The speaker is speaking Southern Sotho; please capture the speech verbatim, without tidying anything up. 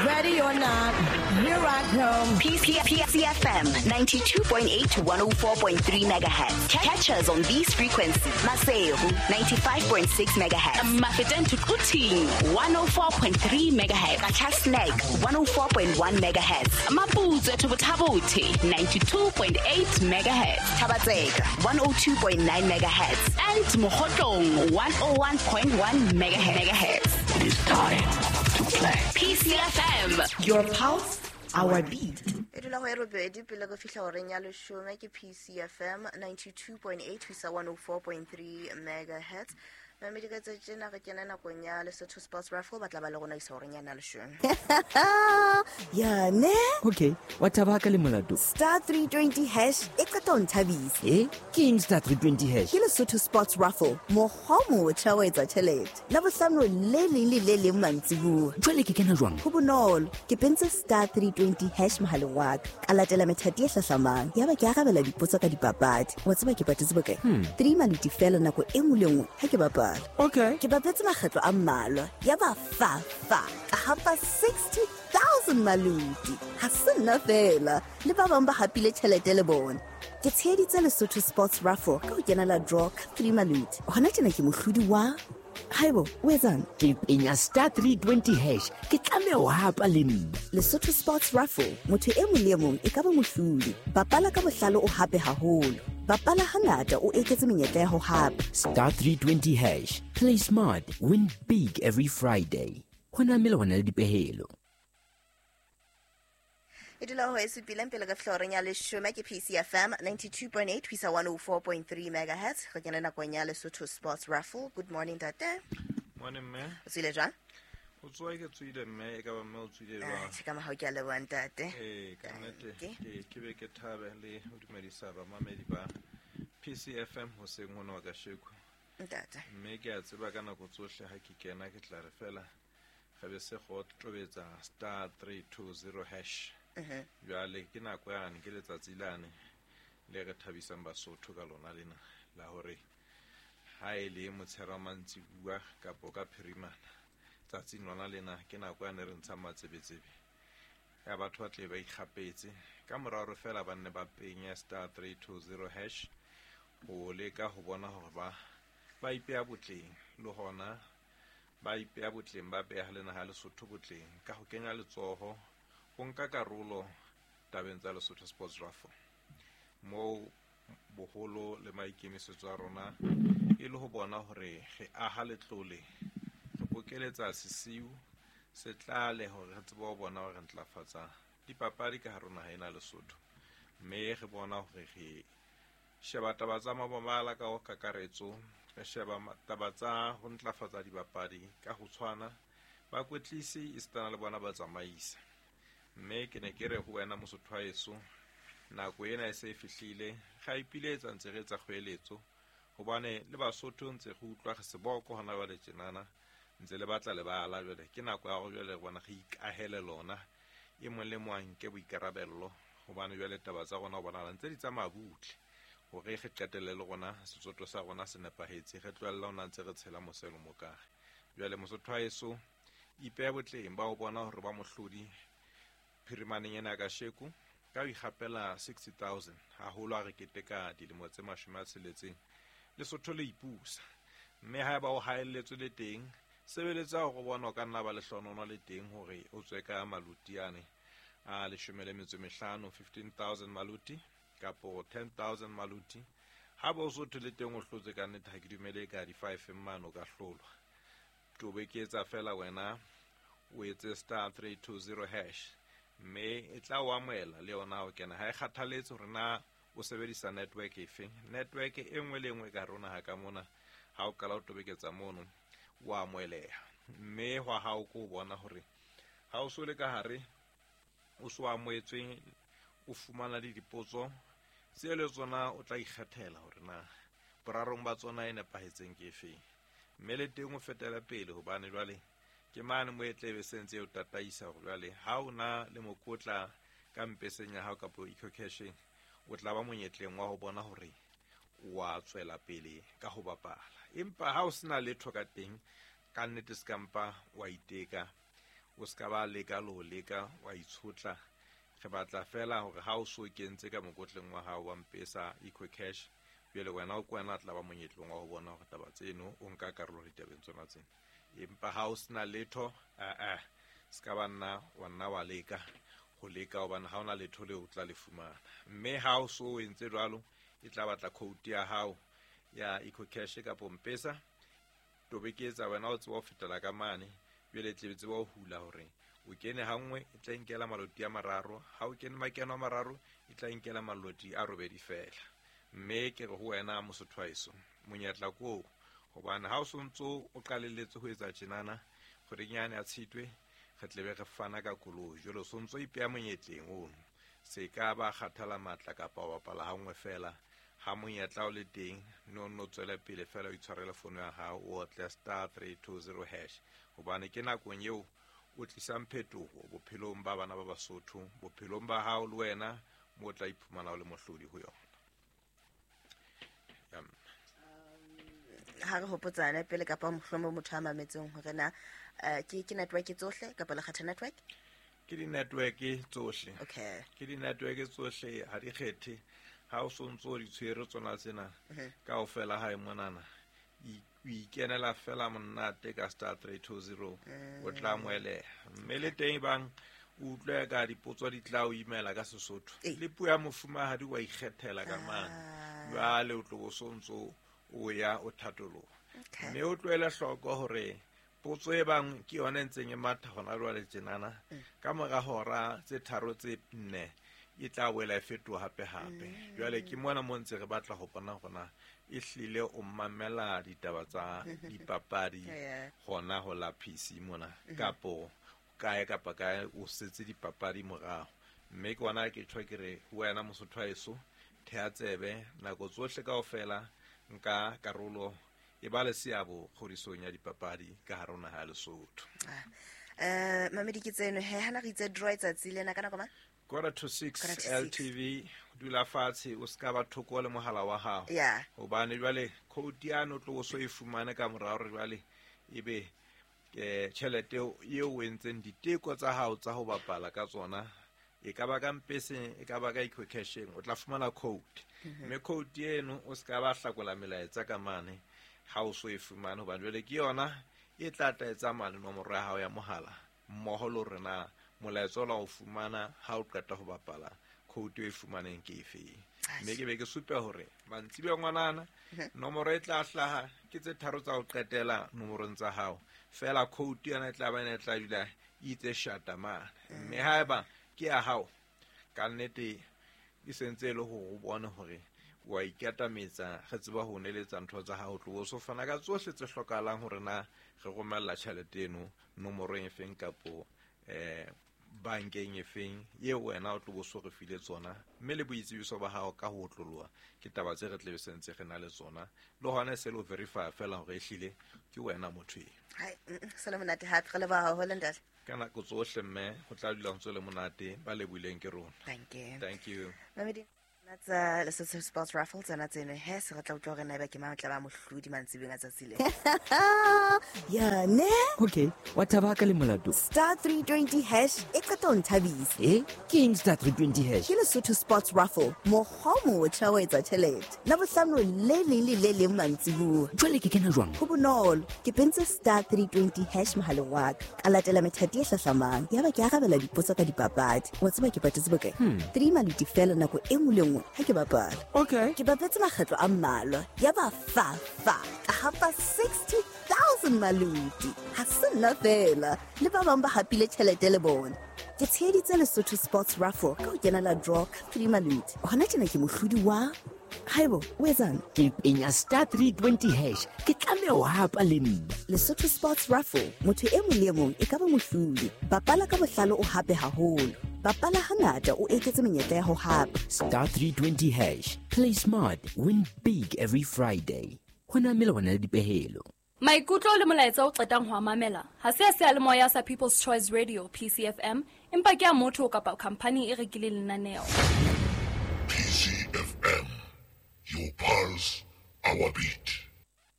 Ready or not, here I come. P C F M ninety-two point eight to one oh four point three megahertz. Catch us on these frequencies. Maseru ninety-five point six megahertz. Mafeteng to Quthing one oh four point three megahertz. Qacha's Nek one oh four point one megahertz. Maputsoe to Botha-Bothe ninety-two point eight megahertz. Thaba-Tseka one oh two point nine megahertz. And Mokhotlong one oh one point one megahertz. It is time to play. P C F M. Your pulse, our beat. E dula go e robedi pele go fihla horeng ya leshome ke P C F M ninety-two point eight ho isa one oh four point three megahertz. Mamedi ka tse tjena re kena nakong ya Lesotho Sports Raffle ba tla ba le rona isa horeng ya na leshome. Ya ne? Okay, wa thaba ka le molato. Star three twenty hash e qeta ho nthabisa. Eh? Ke eng star three twenty hash? Ke Lesotho Sports Raffle. Mokgwa o motjha wa etsa tjhelete. La bohlano le leng le le leng mantsibuya. Jwale ke kena jwang? Ho bonolo. Ke pentse star three twenty hash mohaleng wa ka. Ka latela methati e hlahlamang. Yaba ke arabela dipotso ka dipapadi. Wa tseba ke patetse bokae? Three maluti fela nako e nngwe le nngwe ha ke bapala. Okay. Ke bapetse makgetlo a mmalwa. Ya ba fa fa. Ka hapa sixty thousand maluti. Ha se nna fela. Le ba bang ba hapile tjhelete le bona. Ke tsheheditse Lesotho Sports Raffle ka ho kenela draw ka three maluti. Hona tjena ke mohlodi wa Haibo, o etsang? Ke penya star three twenty hash. Ke tlameha ho hapa le nna. Lesotho Sports Raffle, motho e mong le e mong e ka ba mohlodi. Bapala ka bohlale o hape haholo. Bapala hangata o eketse menyetla ya ho hapa. Star three twenty hash. Play smart, win big every Friday. Hona mmele hona le dipehelo. E dula ho e supileng pele ka fihla horeng ya leshome ke P C F M ninety-two point eight ho isa one oh four point three megahertz. Re kena nakong ya Lesotho Sports Raffle. Good morning tate. Morning mme. O tswile jwang? O tswa ke tswile mme e ka ba mme o tswile jwang? Che ka mahau ke a leboha ntate. Eh ka nnete ke ke be ke thabe le ho dumedisa bamamedi ba P C F M hoseng hona wa kasheko. Ntate. Mme ke a tseba ka nako tsohle ha ke kena ke tla re fela re be se go tobetsa star three two zero hash. Jwale ke nako yane ke letsatsi lane le re thabisang Basotho ka lona lena la hore ha e le motshehare mantsibuya kapo ka phirimana tsatsing lona lena ke nako yane re ntshang matsebetsebe ya batho ba tle ba ikgapetse ka mora hore fela ba nne ba penye star three two zero hash ho leka ho bona hore ba ba ipeya botleng le hona ba ipeya botleng ba beha le naha Lesotho botleng ka ho kenya letsoho ho nka karolo tabeng tsa Lesotho Sports Raffle moo boholo le maikemisetso a rona e le ho bona hore re aha letlole re bokeletsa sesiu se tlale hore re tsebe ho bona hore re ntlafatsa dipapadi ka hare naha ena Lesotho mme re bona hore re sheba taba tsa mabala ka ho kakaretso re sheba taba tsa ho ntlafatsa dibapadi ka ho tshwana bakwetlisi esitana le bona ba tsamaisa. Mme ke ne ke re ho wena Mosotho wa heso nako ena e se e fihlile ga ipiletsa ntse re etsa kgoeletso hobane le Basotho ntse re utlwa re seboko hona jwale tjenana ntse le batla lebala jwale ke nako ya hore jwale re bona re ikahele lona e mong le mong a nke boikarabello hobane jwale taba tsa rona ho bonahala ntse di tsamaya butle hore re qetelle le rona setsotho sa rona se nepahetse re tlohella hona ntse re tshela moselo mokare. Jwale Mosotho wa heso ipeha botleng ba ho bona hore ba mohlodi phirimaneng ena ka kasheko ka ho ikgapela sixty thousand haholo a re keteka dilemo tse mashome a tsheletseng Lesotho le ipusa mme haeba o haelletswe le teng sebeletsa hore bona o ka nna ba lehlonono le teng hore o tswe ka maluti ane a leshome le metso mehlano fifteen thousand maluti kapo ten thousand maluti ha ba o sotho le teng o hlotse ka nnete ha ke dumele ka di five mane o ka hlolwa tobeketsa fela wena o etse star three two zero hash mme e tla o amohela le yona ho kena ha e kgathaletse hore na o sebedisa network efe network e nngwe le nngwe ka rona ha ka mona ha o qala o tobeketsa mono wa amoheleha mme hwa hao ko bona hore ha o so le ka hare o so amohetswe o fumana le dipotso tse le tsona o tla ikgethela hore na borarong ba tsona e nepahetseng ke efe mme le teng o fetela pele hobane jwale ke mane mo e tlebe sentse o tataisa hore jwale ha o na le mokotla ka mpeseng ya hao kapo eco-casheng o tla ba monyetleng wa ho bona hore wa tswela pele ka ho bapala empa ha o sena letho ka teng ka nnete se kampa wa iteka O ska ba leka le ho leka wa itshotla. Re batla fela hore ha o so kentse ka mokotleng wa hao wa Mpesa EcoCash, jwale wena o kwena tla ba monyetlong wa ho bona hore taba tseno o nka karolo ditabeng tsona tsena. Empa ha o sena letho, a a ska ba nna wa nna wa leka ho leka hobane ha ona letho leo o tla le fumana. Mme ha o so entse jwalo, e tla batla code ya hao ya EcoCash kapa Mpesa, tobeketsa wena o tseba ho fetela ka mane, jwale tle tseba ho hula hore o kene ha nngwe e tla inkela maloti a mararo, ha o kene makeno a mararo e tla inkela maloti a robedi fela. Mme ke re ho wena Mosotho wa heso, monyetla ko hobane ha o sontso o qalelletse ho etsa tjenana kgweding yane ya Tshitwe, re tlebe re fana ka koloi. Jwale o sontso ipeya monyetleng ono, se ka ba kgathala matla kapa wa bapala ha nngwe fela. Ha monyetla o le teng, no no tswele pele fela o itshwarele fono ya hao, o otle star three two zero hash, hobane ke nakong eo o tlisang phetoho bophelong ba bana ba Basotho, bophelong ba hao le wena mo tla iphumana o le mohlodi ho yona. Ha re hopotsane pele kapa mohlomong motho a mametseng hore na ke ke network tsohle kapa le kgetha network? Ke di-network tsohle. Okay. Ke di-network tsohle, ha di kgethe. Ha o sontso di tshwere tsona tsena kaofela ha e monana, o ikenela fela monate ka star three two zero, o tla moeleha. Mme le teng bang o utlwe ka dipotso di tla o imela ka Sesotho, le puo ya mofumahadi wa ikgethela ka mane, jwale o tlo bo sontso o ya o thatoloha. Mme o tlohele hloko hore potso e bang ke yona e ntseng e matha hona jwale tjenana, ka mora hora tse tharo tse nne e tla boela e fetoha hape hape. Jwale ke mona mo ntse re batla ho bona hona e hlile o mamela ditaba tsa dipapadi hona ho la P C mona, kapo kae kapa kae o setse dipapadi morao. Mme ke ona ke tjho ke re ho wena Mosotho wa heso, thea tsebe nako tsohle kaofela, nka karolo e ba le seabo kgodisong ya dipapadi ka hare ho naha ya Lesotho. Eh mamedi ke tseno he hana re itse draw tsatsi lena ka nako mang? Quarter to six, L T V, dula fatshe o ska ba thoko le mohala wa hao. Hobane jwale code ya no tlo so e fumane ka morao re jwale ebe ke tjhelete eo o entseng diteko tsa hao tsa ho bapala ka tsona, e ka ba ka Mpeseng, e ka ba ka EcoCasheng, o tla fumana code. Mme code eno o ska ba hlakola melaetsa ka mane ha o so e fumane, hobane jwale ke yona e tla tla mane nomoro ya hao ya mohala mmoho le hore na molaetsa o la o fumana ha o qeta ho bapala code e fumaneng ke efe. Mme ke be ke supe hore mantsibuya ngwanana nomoro e tla hlaha ke tse tharo tsa ho qetela nomorong tsa hao fela, code yona e tla ba e tla dula itse shata mane. Mme haeba ke ya hao ka nnete e sentse le hore o bone hore wa ikatametsa, re tseba ho neletsa ntho tsa hao, tlo so fana ka tsohle tse hlokahalang hore na re romella tjhelete eno nomorong e feng kapo eh bankeng e feng eo wena o tlo bo so re file tsona, mme le boitsebiso ba hao ka ho otloloha ke taba tse re tlebe sentse re na le tsona, le hona se lo verify fela hore ehlile ke wena motho eo. Hai, se le monate hape, re leboha haholo ntate. Ka nako tsohle mme ho tla dula ho ntse le monate, ba lebohileng ke rona. Thank you. Thank you. Mamedi tsa Lesotho Sports Raffle tsena tseno he se re tla utlwa hore na eba ke mang tla ba mohlodi mantsibeng a tsatsi le. Ya ne? Okay, wa thaba ka le molato. Star three twenty hash e qeta ho nthabisa. Eh? Ke eng star three twenty hash? Ke Lesotho Sports Raffle, mokgwa o motjha wa etsa tjhelete. Labohlano le leng le le leng mantsibuya. Jwale ke kena jwang? Ho bonolo, ke pentse star three twenty hash mohaleng wa ka. Ka latela methati e hlahlamang. Yaba ke arabela dipotso ka dipapadi. Wa tseba ke patetse bokae? Three maluti fela nako e nngwe le nngwe ha ke bapala. Okay. Ke bapetse makgetlo a mmalwa. Yaba fa fa ka hapa sixty thousand maluti. Ha se nna fela, le ba bang ba hapile tjhelete le bona. Ke tsheheditse Lesotho Sports Raffle ka ho kenela draw ka three maluti. Hona tjena ke mohlodi wa Haibo, o etsang? Ke penya star three twenty hash. Ke tlameha ho hapa le nna. Lesotho Sports Raffle, motho e mong le e mong e ka ba mohlodi. Bapala ka bohlale o hape haholo. Bapala hangata o eketse menyetla ya ho hapa. Star three twenty hash. Play smart, win big every Friday. Ho na melawana le dipehelo. Maikutlo le molaetsa o qetang ho mamela ha se a seyalemoya sa People's Choice Radio P C F M, empa ke a motho kapa company e rekileng lenaneo. P C F M, your pulse, our beat.